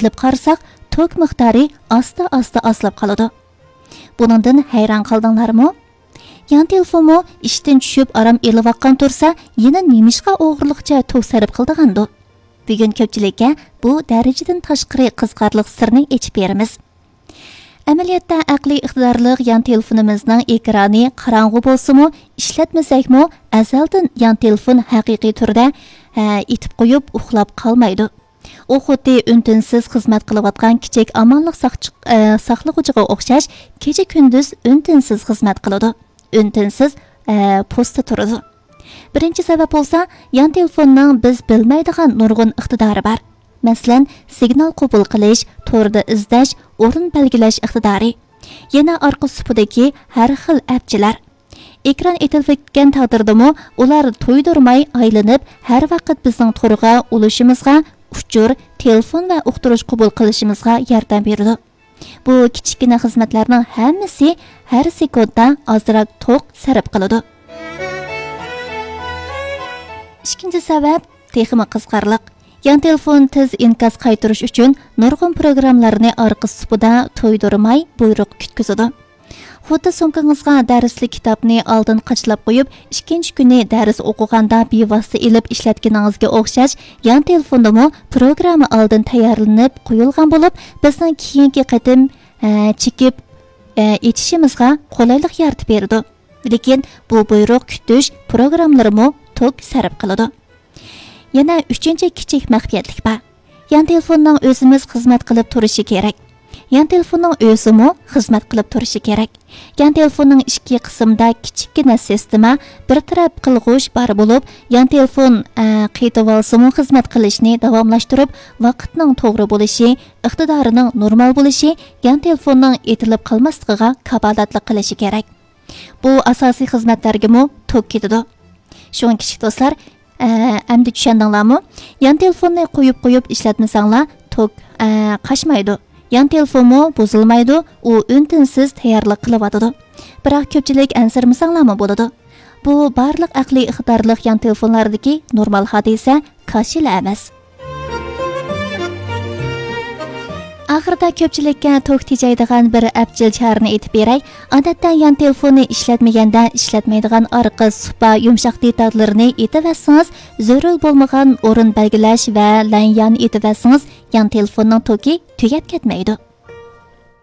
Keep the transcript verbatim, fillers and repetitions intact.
ئېتىلىپ قارىساق، توك مىقدارى ئاستا-ئاستا ئازلاپ قالىدۇ. بۇنىڭدىن ھەيران قالدىڭلارمۇ؟ يان تېلېفونمۇ ئىشتىن چۈشۈپ ئارام ئېلىۋاتقان تۇرسا، يەنە نېمىشقا ئوغرىلىقچە توك سەرپ قىلىدىغاندۇ؟ بۈگۈن كۆپچىلىككە بۇ دەرىجىدىن تاشقىرى قىزىقارلىق سىرنى ئېچىپ بېرىمىز. ئەمەلىيەتتە ئەقلىي ئىقتىدارلىق يان تېلېفونىمىزنىڭ ئېكرانى قاراڭغۇ بولسىمۇ، ئىشلەتمىسەكمۇ، ئەزەلدىن يان تېلېفون ھەقىقىي تۈردە، ھە، ئېتىپ قويۇپ ئۇخلاپ قالمايدۇ. ئۇ خۇددى ئۈن-تىنسىز خىزمەت قىلىۋاتقان كىچىك ئامانلىق ساقچى-، ئە، ساقلىغۇچىغا ئوخشاش، كېچە-كۈندۈز ئۈن-تىنسىز خىزمەت قىلىدۇ، ئۈن-تىنسىز، ئە، پوستتا تۇرىدۇ. بىرىنچى سەۋەب بولسا، يان تېلېفوننىڭ بىز بىلمەيدىغان نۇرغۇن ئىقتىدارى بار. مەسىلەن، سىگنال قوبۇل قىلىش، توردا ئىزدەش، ئورۇن بەلگىلەش ئىقتىدارى. يەنە ئارقا سۇپىدىكى ھەر خىل ئەپچىلەر. ئېكران ئېتىلىپ كەتكەن تەقدىردىمۇ، ئۇلار تۇيدۇرماي ئايلىنىپ، ھەر ۋاقىت بىزنىڭ تورغا ئۇلىشىمىزغا، ئۇچۇر، تېلېفون ۋە ئۇقتۇرۇش قوبۇل قىلىشىمىزغا ياردەم بېرىدۇ. بۇ كىچىككىنە خىزمەتلەرنىڭ ھەممىسى ھەر سېكۇنتتا ئازراق توك سەرپ قىلىدۇ. ئىككىنچى سەۋەب تېخىمۇ قىزىقارلىق. يان تېلېفون تېز ئىنكاس قايتۇرۇش ئۈچۈن نۇرغۇن پروگراممىلارنى ئارقا سۇپىدا تۇيدۇرماي بۇيرۇق كۈتكۈزىدۇ. خۇددى سومكىڭىزغا دەرسلىك كىتابنى ئالدىن قاچىلاپ قويۇپ، ئىككىنچى كۈنى دەرس ئوقۇغاندا بىۋاسىتە ئېلىپ ئىشلەتكىنىڭىزگە ئوخشاش، يان تېلېفوندىمۇ پروگرامما ئالدىن تەييارلىنىپ قويۇلغان بولۇپ، بىزنىڭ كېيىنكى قېتىم، ئە، چېكىپ، ئە، ئېچىشىمىزغا قولايلىق يارىتىپ بېرىدۇ. لېكىن بۇ بۇيرۇق كۈتۈش پروگراممىلىرىمۇ توك سەرپ قىلىدۇ. يەنە ئۈچىنچى كىچىك مەخپىيەتلىك بار. يان تېلېفوننىڭ ئۆزىمىز خىزمەت قىلىپ تۇرۇشى كېرەك. يان تېلېفوننىڭ ئۆزىمۇ خىزمەت قىلىپ تۇرۇشى كېرەك. يان تېلېفوننىڭ ئىچكى قىسمىدا كىچىككىنە سىستېما، بىر تەرەپ قىلغۇچ بار بولۇپ، يان تېلېفون، ئە، قېتىۋالسىمۇ خىزمەت قىلىشنى داۋاملاشتۇرۇپ، ۋاقىتنىڭ توغرا بولۇشى، ئىقتىدارىنىڭ نورمال بولۇشى، يان تېلېفوننىڭ ئېتىلىپ قالماسلىقىغا كاپالەتلىك قىلىشى كېرەك. بۇ ئاساسىي خىزمەتلەرگىمۇ توك كېتىدۇ. شۇڭا كىچىك دوستلار، ئە، ئەمدى چۈشەندىڭلارمۇ؟ يان تېلېفوننى قويۇپ قويۇپ ئىشلەتمىسەڭلار، توك، ئە، قاچمايدۇ. يان تېلېفونمۇ بۇزۇلمايدۇ، ئۇ ئۈن-تىنسىز تەييارلىق قىلىۋاتىدۇ. بىراق كۆپچىلىك ئەنسىرىمىسەڭلارمۇ بولىدۇ. بۇ بارلىق ئەقلىي ئىقتىدارلىق يان تېلېفونلاردىكى نورمال ھادىسە، كاشىلا ئەمەس. ئاخىرىدا كۆپچىلىككە توك تېجەيدىغان بىر ئەپچىل چارىنى ئېيتىپ بېرەي. ئادەتتە يان تېلېفوننى ئىشلەتمىگەندە ئىشلەتمەيدىغان ئارقا سۇپا يۇمشاق دېتاللىرىنى ئېتىۋەتسىڭىز، زۆرۈر بولمىغان ئورۇن بەلگىلەش ۋە لەنيان ئېتىۋەتسىڭىز، يان تېلېفوننىڭ توكى تۈگەپ كەتمەيدۇ.